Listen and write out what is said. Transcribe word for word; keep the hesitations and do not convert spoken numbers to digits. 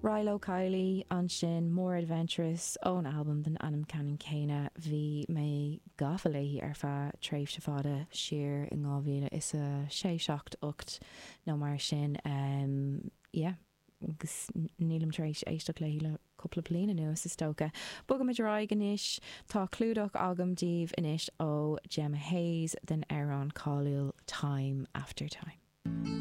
Rilo Kiley ansin More Adventurous ón albam den ainm ceannann céanna bhí mé gafa léi ar feadh tréimhse fada siar in dhá mhíle is a sé seacht ocht nó mar sin um, yeah. agus nílim tar éis éisteacht léi le cúpla bliain anuas is dócha. Bogaimid ar aghaidh anois tá clúdach agam daoibh anois ó Gemma Hayes den amhrán cáiliúil Time After Time.